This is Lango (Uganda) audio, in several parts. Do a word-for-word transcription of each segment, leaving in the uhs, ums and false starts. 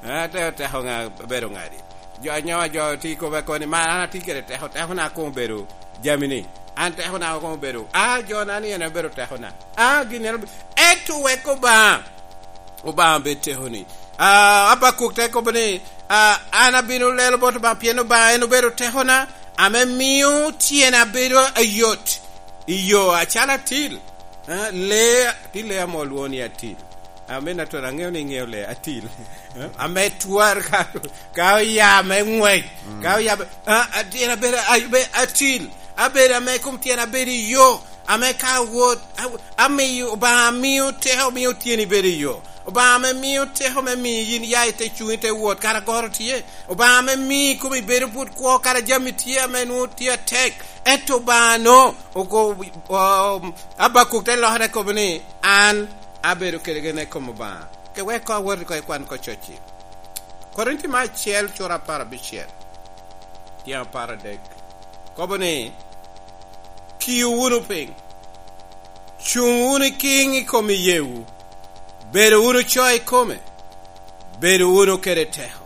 Ah, te-, teko ŋa bedo ŋadi? Jo anyowa jo ti kobe koni, "Ma an atye kede teko, tekona koŋ obedo jami ni. An tekona koŋ obedo, ah, jo na ni en obedo tekona. Ah, gin en obe-," ento wek Obaŋa, Obaŋa bed tekoni. Ah, Abakuk te kobo ni, ah, "An abino lelo bot Obaŋa, pien Obaŋa en obedo tekona, ame mio tyena bedo ayot i yo acalo atil." Ah, lee, ti lee ame olwoŋo ni atil. Amen, atwero aŋeo ni iŋeo lee atil. Ame twar ka, ka oya me ŋwec, ka oya me, a, a, tyen abedo, a, be, atil, abedo ame kom tyen abedo i yo, ame ka awot, a, amiyo, Obaŋa amio teko, omio tyeni bedo i yo. Obaŋa ame mio teko me miyo yin ya i te cuŋ, i te wot, kara goro tye. Obaŋa ame mio komi bedo but kwo, kara jami tye ame nwoŋo tye atek. Ento Obaŋa no, oko-, o-, Abakuk te lokere kobo ni, "An abedo kede gen i kom Obaŋa." Ke wek koŋ awot oko i kwan oko coc-ci. Korinti me acel, cura apar abicel, tyen apar adek. Kobo ni, "Kiu wunu piny, cuŋ wunu i kiŋ i kom iyeewu, bedo wunu co i kome, bedo wunu kede teko.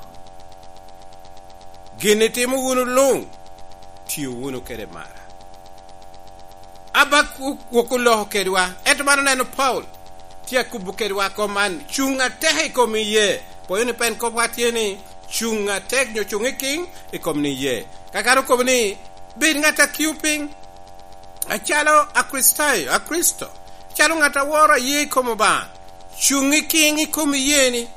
Gin itimo wunu luŋ, tio wunu kede mara." Abakuk oloko kedwa, ento man oneno Paulo tye akubo kedwa kom man, cuŋ atek i kom iyee. Pwoyo ni pen kopwa tye ni, cuŋ atek nyo cuŋ i kiŋ i kom ni iyee. Kakare okobo ni, "Bed ŋat a kio piny, acalo Akricitayo, Akricito, acalo ŋat a woro aye i kom Obaŋa, cuŋ i kiŋ i kom iyee ni."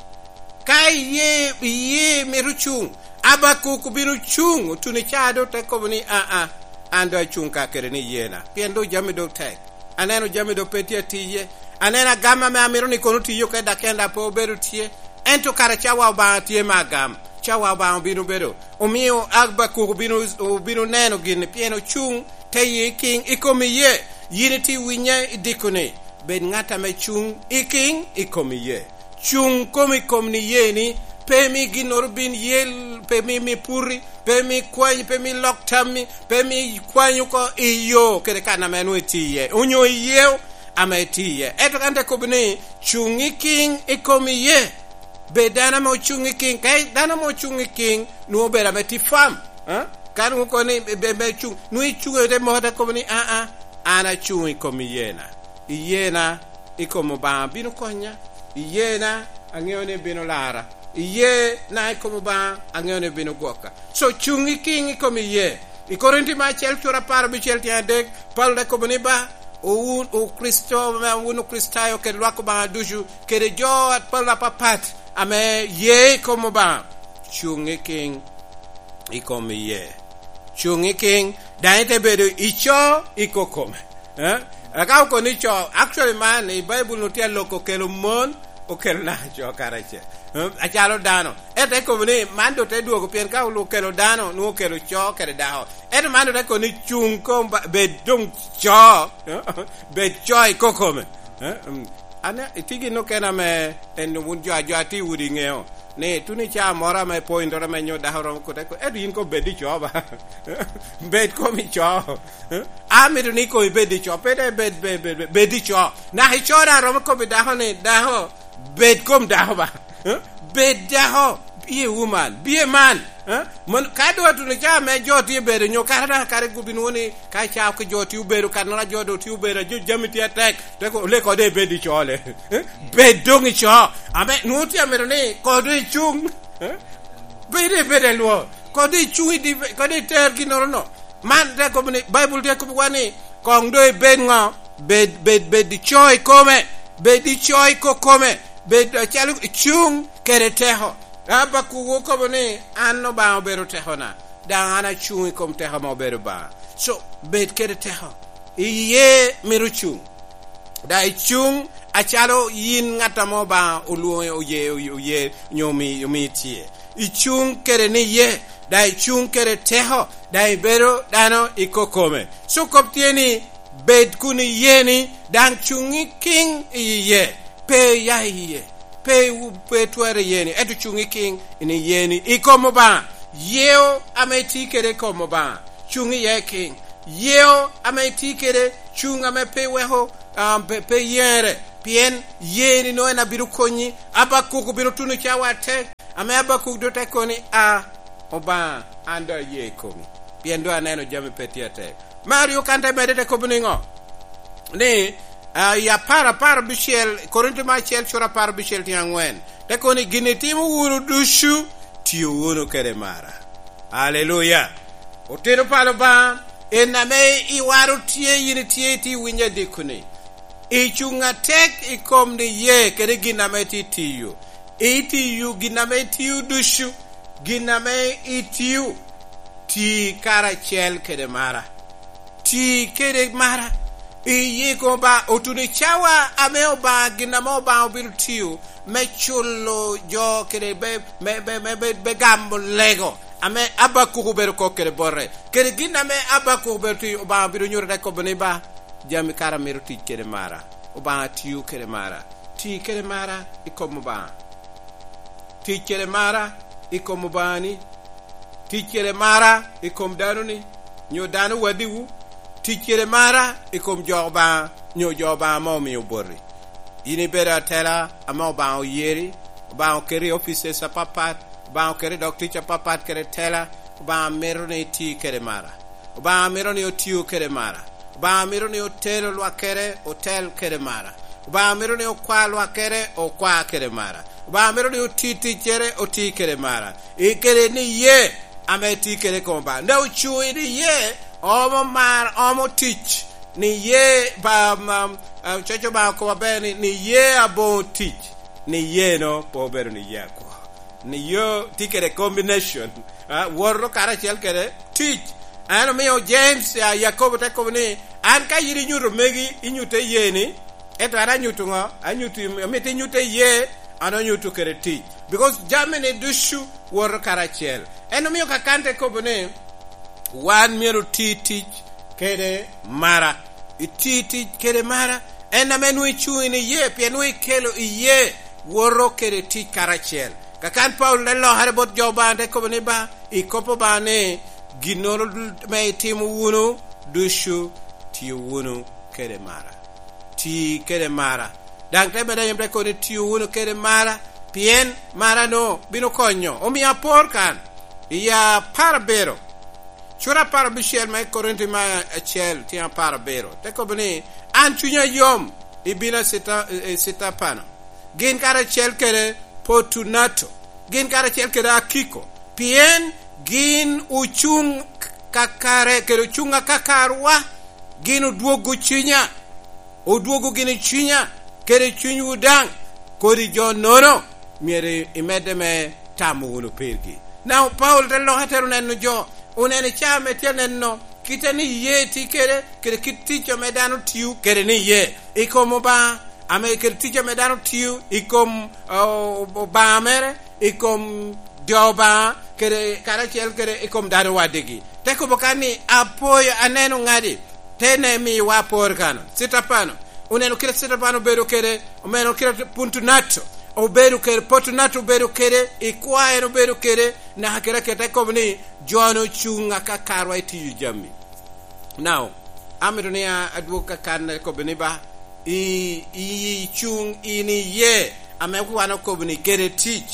Ka iye, iye mito cuŋ, Abakuk obino cuŋ, otuno i caa doŋ te kobo ni, "Aa, an doŋ acuŋ ka kede ni iyena, pien doŋ jami doŋ tek. Aneno jami doŋ pe tye atiye. Aneno agam ame amito ni kono tiyo kede dok en daŋ pe obedo tye. Ento kara cawa Obaŋa tye me agam, cawa Obaŋa obino bedo." Omio Abakuk obino, obino neno gin, pien ocuŋ te ye kiŋ i kom iye. Yin itye winye i diko ni, bed ŋat ame cuŋ i kiŋ i kom iye. Cuŋ kom i kom ni ye ni, pe mi ginnoro bin yel, pe mi, mi puri, pe mi kwanyi, pe mi lok tammi, pe mi kwanyi oko i yo kede kan ame nwoŋo itye iye, onyo i yeo ame itye iye. Ento kan te kobo ni, cuŋ i kiŋ i kom iye. Bed dano ame ocuŋ i kiŋ. Ka dano ame ocuŋ i kiŋ, nwoŋo obedo ame tye fam. Eh? Ka nwoŋo kono ni be, be, be cuŋ, nwoŋo icuŋ i te moko te kobo ni, "Aa, an acuŋ i kom iyena." Iyena i kom Obaŋa bino konya. Iyena aŋeo ni bino lara. Iyena i kom Obaŋa aŋeo ni bino gwoka. So, cuŋ i kiŋ i kom iye. I Korinti me acel cura apar abicel tyen adek, Paulo te kobo ni, "Ba, wun Okricito, wun Okricitayo kede lwak Obaŋa ducu, kede jo apol apapat ame ye i kom Obaŋa, cuŋ i kiŋ i kom iye." Cuŋ i kiŋ, daŋ ite bedo ico i kokome. Eh? Aka okoni co, actually man, i Baibul nu tye aloko okelo mon, okelo naka co karacel. Eh? Acalo dano. Ento ekobo ni, man doŋ te dwogo, pien ka okelo dano, nwoŋo okelo co kede dako. Ento man doŋ te kobo ni cuŋ kom ba-, bed doŋ co, bed co i kokome. Eh? Mm. An, itye gin okene ame en wun jo, jo atye i udi iŋeo. Ni tuno i caa moro ame point ame nyo dako romo kote ko, "Ento yin koŋ bed i co ba." Bed kom i co. Amito ni koŋ ibed i co, pe dok ibed, bed, bed, bed, bed i co. Naka i co daŋ romo kobbi dako ni, "Dako, bed kom dako ba." Bed dako, be a woman, be a man. Mon, ka doŋ atuno caa ame jo tye bedo, nyo kara daŋ kare gubbi nwoŋo ni, ka caa ki jo tye obedo, kan nora jo doŋ tye obedo, jo jami tye atek, te ko, le kode ibed i co le. Eh? Bed doŋ i co. Ame, nwoŋo tye amito ni, kode icuŋ. Eh? Bed i bed i lwo. Kode icuŋ i di, kode iter ginnoro no. Man te kobo ni, Baibul tye kobo wa ni, koŋ doŋ ibed ŋo? Bed, bed, bed i co i kome. Bed i co i kokome. Bed acalo icuŋ kede teko. Abakuk okobo ni, "An Obaŋa obedo tekona, daŋ an acuŋ i kom teko ame obedo Obaŋa." So, bed kede teko. Iye mito cuŋ. Daŋ icuŋ acalo yin ŋat ame Obaŋa olwoŋi, oye, oye, oye, nyo omi, omi tye. Icuŋ kede ni ye, daŋ icuŋ kede teko, daŋ ibedo dano i kokome. So kop tye ni, bed kun iye ni, daŋ cuŋ i kiŋ i iye. Pe iya i iye. Pe iwu-, pe twero iye ni, ento cuŋ i kiŋ in iye ni. I kom Obaŋa, yeo ame itye kede i kom Obaŋa, cuŋ iye kiŋ. Yeo ame itye kede, cuŋ ame pe iweko, ah, pe, pe iyeŋere, pien ye ni nongo en abino konyi. Abakuk obino tuno cawa atek, Ame Abakuk doŋ te kobo ni, "A, Obaŋa, an doŋ aye i komi, pien doŋ aneno jami pe tye atek." Me aryo kan te medde te kobo niŋo? Ni, a, i apar, apar abicel, Korinto me acel cura apar abicel tyen aŋwen, te kobo ni, "Gin itimo wunu ducu, tiyo wunu kede mara." Aleluya! Otino palo Obaŋa, en ame iwaro tye, yin itye, itye winyo adiko-ni. Icuŋ atek i kom niye kede gin ame itye tiyo. Itiyo gin ame itio ducu, gin ame itio, ti karacel kede mara. Ti kede mara. Iye i kom Obaŋa, otuno i cawa ame Obaŋa, gin ame Obaŋa obino tio me culo jo kede be, me, be, me, be, be gamo lego ame Abakuk obedo kok kede bote, kede gin ame Abakuk obedo tio, Obaŋa obino nyuto te kobo ni, "Ba, jami kara mito tic kede mara." Obaŋa tio kede mara. Ti kede mara i kom Obaŋa. Tic kede mara i kom Obaŋani. Tic kede mara i kom danoni, nyo dano wadiwu. Tic kede mara i kom jo Obaŋa, nyo jo Obaŋa ame omio boti. Yin ibedo atela ame Obaŋa oyeri, Obaŋa oketi i offices apapat, Obaŋa oketi i dog tic apapat kede tela, Obaŋa mito ni iti kede mara. Obaŋa mito ni otio kede mara. Obaŋa mito ni otelo lwakkere, otel kede mara. Obaŋa mito ni okwa lwakkere, okwa kede mara. Obaŋa mito ni oti ticcere, oti kede mara. I kede niye ame tye kede i kom Obaŋa. Dok ocuŋ i niye, omo mar, omo tic. Niye ba, ma, ah, coco Obaŋa okobo aber ni, "Niye aboŋo tic." Niye-no pe obedo niye akwo. Niye tye kede combination, ah, woto karacel kede tic. En omio James, ah, Yakobo te kobo ni, "An ka yin inyuto megi, inyutte iye ni, ento an anyuto ŋo? Anyuto, amito inyutte iye, an anyuto kede tic." Because jami-ni ducu woto karacel. En omio Kakan te kobo ni, "Wan myero oti tic kede mara." Iti tic kede mara. En ame nwoŋo icuŋ i niye, pien nwoŋo ikelo iye woto kede tic karacel. Kakan Paulo te lokere bot jo Obaŋa, te kobo ni, "Ba, i kop Obaŋa ni, ginnoro me itimo wunu ducu, tiyo wunu kede mara." Ti kede mara. Daŋ te medde anyam te kobo ni, "Tiyo wunu kede mara, pien mara-nu bino konyo." Omio apor kan, i apar abiro, cura apar abicel me Korinti me acel, tyen apar abiro, te kobo ni, "An cunya yom, i bino Sita-, i Sitapano, gin karacel kede Potunato, gin karacel kede Akiko, pien gin ocuŋ kakare, kede ocuŋ akakarwa, gin odwogo cunya, odwogo gini cunya, kede cunywu daŋ, kodi jo-nono myero imedde me tamo wunu pirgi." Now, Paulo te loke te oneno jo, oneno i caa me tye aneno, kite ni iye tye kede, kede kit tic ame dano tio kede ni iye. I kom Obaŋa, ame kede tic ame dano tio i kom, o-, Obaŋa mere, i kom jo Obaŋa, kede karacel kede i kom dano wadigi. Te kobo kan ni, "Apwoyo, aneno ŋadi." Te ne miwa apor kano. Sitapano. Oneno kite Sitapano obedo kede, oneno kite Puntunato obedo kede, Potunato obedo kede, i kwae en obedo kede, naka kede aketa kobo ni, "Jo-nu ocuŋ akakarwa i tiyo jami." Now, amito ni a-, adwog Kakan kobo ni, "Ba, i, i, icuŋ in iye, ame wan okobo ni kede tic.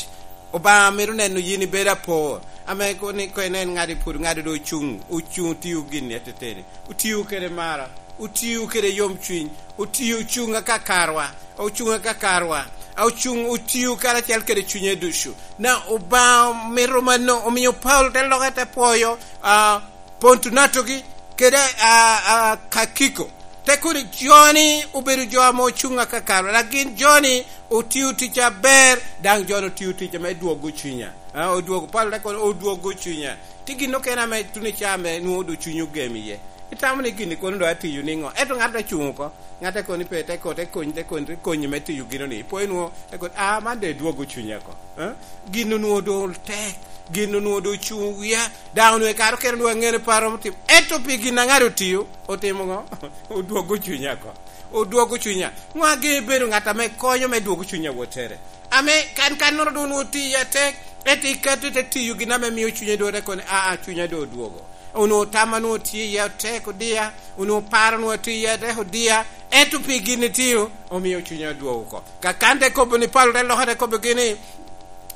Obaŋa mito neno yin ibedo apor." Ame ko ni, ko inen ŋadi pwod, ŋadi doŋ ocuŋ, ocuŋ otio gin i ateteni. Otio kede mara, otio kede yomcwiny, otio ocuŋ akakarwa, ocuŋ akakarwa, ocuŋ, otio karacel kede cunye ducu. Na Obaŋa mito mano, omio Paulo te loke te pwoyo, ah, Pontunatogi kede, ah, ah, Kakiko. Te kobo ni, "Jo-ni obedo jo ame ocuŋ akakarwa, dok gin jo-ni otio tic aber, daŋ jo-ni otio tic ame dwogo cunya." Ah, odwogo, Paulo te kobo ni, "Odwogo cunya." Tye gin okene ame tuno i caa ame nwoŋo doŋ cuny ogem iye. Itamo ni gin-ni kono doŋ atiyo niŋo? Ento ŋat te cuŋ oko. Ŋat te kobo ni pe, te ko, te kony, te kony, te konyi me tiyo gino-ni. Ipo inwoŋo, te kobo, "Ah, man doŋ edwogo cunya oko." Eh? Gin onwoŋo doŋ tek. Gin onwoŋo doŋ ocuŋ wia. Daŋ onwoŋo i kare okene onwoŋo aŋene pe aromo timo. Ento pi gin a ŋat otio, otimo ŋo? Odwogo cunya oko. Odwogo cunya. Ŋo ageŋo ibedo ŋat ame konyo me dwogo cunya wottere? Ame kan, kannoro doŋ onwoŋo tiyo atek, ento ikato ite tiyo gin ame mio cunye dwogo, te kobo ni, "Aa, cunya doŋ odwogo." Onwoŋo tam a nwoŋo tye iye otek odia, onwoŋo paro nwoŋo atye iye atek odia, ento pi gin itio, omio cunya odwogo oko. Kakan te kobo ni, Paulo te loke te kobogi ni,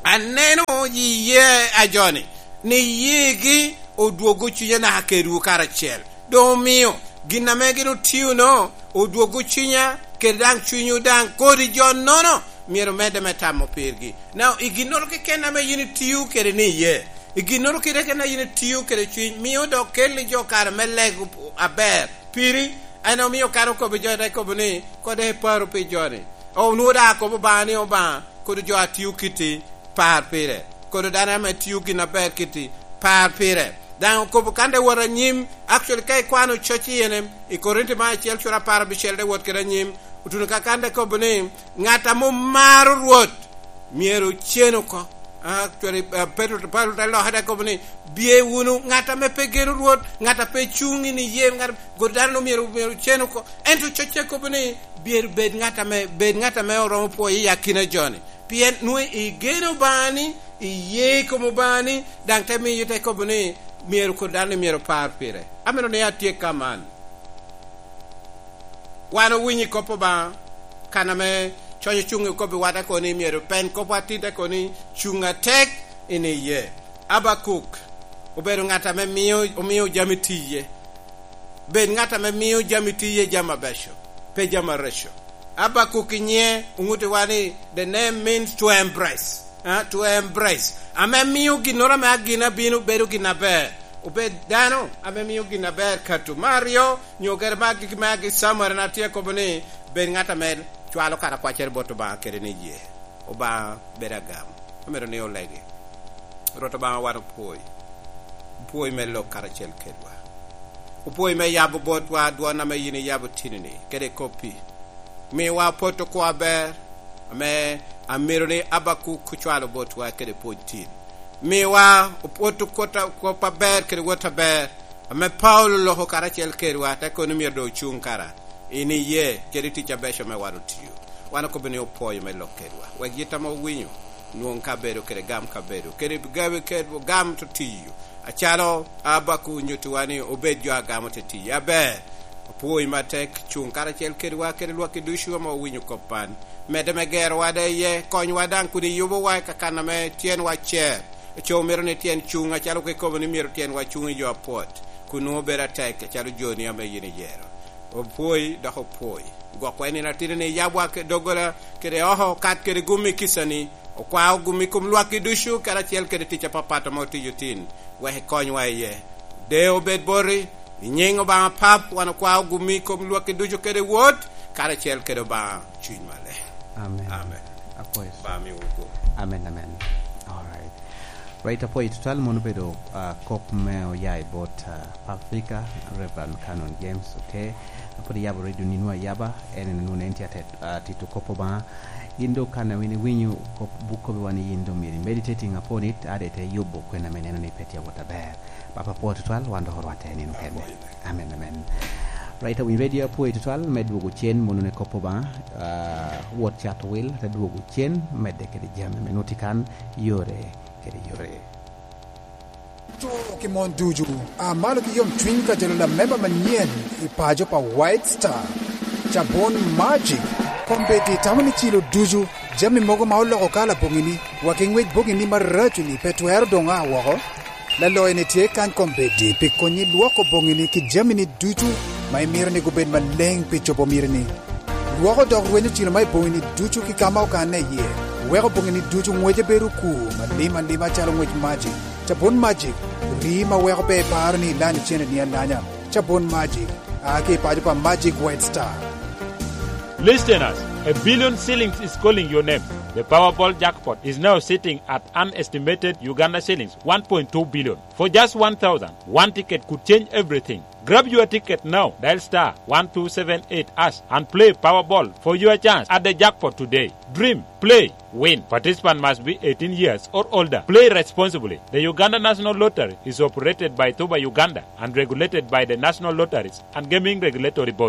"Aneno Iye a joni, ni yigi odwogo cunya naka kedwu karacel. Doŋ omio gin ame gin otio-no odwogo cunya, kede daŋ cunywu daŋ kodi jo-nono myero medde me tamo pirgi. Now, i ginnoro keken ame yin itio kede ni iye, i ginnoro keken ame yin itio kede cuny, mio dok kelli jo kare me lego aber piri. En omio kan okobo jo, te kobo ni, "Kodi iparo pi jo-ni." Onwoŋo daŋ akobo Obaŋa ni, "Obaŋa, kodi jo a tio kiti, par pire. Kodi dano ame tio gin aber kiti, par pire." Daŋ okobo kan te wot anyim, actually, ka ikwano coc i ene, i Korinti me acel cura apar abicel te wot kede anyim, otuno ka kan te kobo ni, "Ŋat ame omaro Rwot, myero ocen oko." Ah, cwari, ah, Petro, Petro te lokke te kobo ni, "Bye wunu, ŋat ame pe geno Rwot, ŋat a pe cuŋ i niye, ŋat, kodi dano myero, myero ocen oko." Ento cocce kobo ni, "Myero bed ŋat ame, bed ŋat ame oromo pwoyo i akina jo-ni." Pien nwoŋo igeno Obaŋa ni, iye i kom Obaŋa ni, daŋ te miyo te kobo ni, myero kodi dano myero par pire. Amito ni atyek ka man. Wan owinyo i kop Obaŋa, kan ame cony ocuŋ i kop i wata kono ni myero pen kopwa atit kono ni cuŋ atek i niye. Abakuk obedo ŋat ame mio, omio jami tiye. Bed ŋat ame mio jami tiye jami abeco, pe jami areco. Abakuk i nyiŋe oŋuttiwa ni, the name means to embrace. Ah, to embrace. Ame mio ginnoro ame agina bino bedo gin aber. Obed dano ame mio gin aber kato. Me aryo, nyo kede me agikki me agi Camuel, en atye kobo ni, bed ŋat ame cwalo kara kwaccere bot Obaŋa kede ni ye. Obaŋa bedo agam. Amito ni olegi. Rwot Obaŋa, wan opwoi. Opwoi me lok karacel kedwa. Opwoi me yabo botwa dwon ame yin iyabo tini-ni, kede koppi. Miwa pot okwo aber, ame amito ni Abakuk ocwalo botwa kede pwony tin. Miwa opot okwo ta-, kop aber kede wot aber, ame Paulo oloko karacel kedwa, te kono myero doŋ ocuŋ kara. In iye, kede tic abeco ame wan otio. Wan okobo ni opwoyo me lok kedwa. Wek yit ame owinyo, nwoŋ kabedo kede gam kabedo, kede gawi kede gam to tiyo. Acalo Abakuk onyuttiwa ni obed jo a gamo te tiyo aber. Opwoyi matek, cuŋ karacel kedwa kede lwakki ducu ame owinyo kop man. Medde me gerowa da iye, konywa daŋ kun iyubowa i kakan ame tyenwa cer. Aco mito ni tyen cuŋ, acalo kwe kobo ni myero tyenwa cuŋ i yo apwot, kun nwoŋo bedo atek, acalo joni ame yin iyero. Opwoyi, dok opwoyi. Gwokwa i nino atidi ni yabwa ke-, doggola kede oko kat kede gum i kicani, okwao gum i kom lwakki ducu, karacel kede tic apapat ame otiyo tin, wek ikonywa iye. De obed boti, i nyiŋ Obaŋa Pap, wan okwao gum i kom lwakki ducu kede Wod, karacel kede Obaŋa Cuny Maleng. Amen. Amen. Apwoyo. Ba miwu kwo. Amen, amen. All right. Right, apwoyo tutwal, mono obedo, ah, kop me oya i bot, ah, Africa, Reverend Canon James, okay? Apwod iyabo radio nino ayaba, en en nwoŋo en tye atet-, ah, tito kop Obaŋa. Yin doŋ kan a win iwinyo kop, buk kop wan, yin doŋ myero i meditating upon it, ade ite yubo kwena me neno ni pe tye awot aber. Papa, apwoo tutwal, wan dok orwatte nino kene. Amen, amen. Right, awinyo radio apwoo tutwal, me dwogo cen mono ne kop Obaŋa, ah, wot cat wil, te dwogo cen, medde kede jami me nuti kan, yore kede yore. To ki mon ducu, a malo ki yom cwiny ka jalo lamemba manyen i paco pa White Star. Cabon Magic, kombeddi tamo ni cilo ducu, jami mogo ma oloko kala boŋini, wa ki ŋwec boŋini maraco-ni pe twero doŋ a woko. Laloyo-ni tye kany kombeddi pi konyi lwoko boŋini ki jamini ducu ma imito ni gubed maleŋ pi cobo mitini. Lwoko dok rwenyo cilo ma i boŋini ducu ki ka ma okanne iye, weko boŋini ducu ŋwece bedo okur malim alima calo ŋwec Magic. Cabon Magic, rii ma weko pe iparo ni ilanyo cene ni alanya. Cabon Magic, a ki i paco pa Magic White Star. Listeners, a billion shillings is calling your name. The Powerball jackpot is now sitting at an estimated Uganda shillings one point two billion. For just one thousand, one ticket could change everything. Grab your ticket now. Dial star one two seven eight hash and play Powerball for your chance at the jackpot today. Dream, play, win. Participant must be eighteen years or older. Play responsibly. The Uganda National Lottery is operated by Tuba Uganda and regulated by the National Lotteries and Gaming Regulatory Board.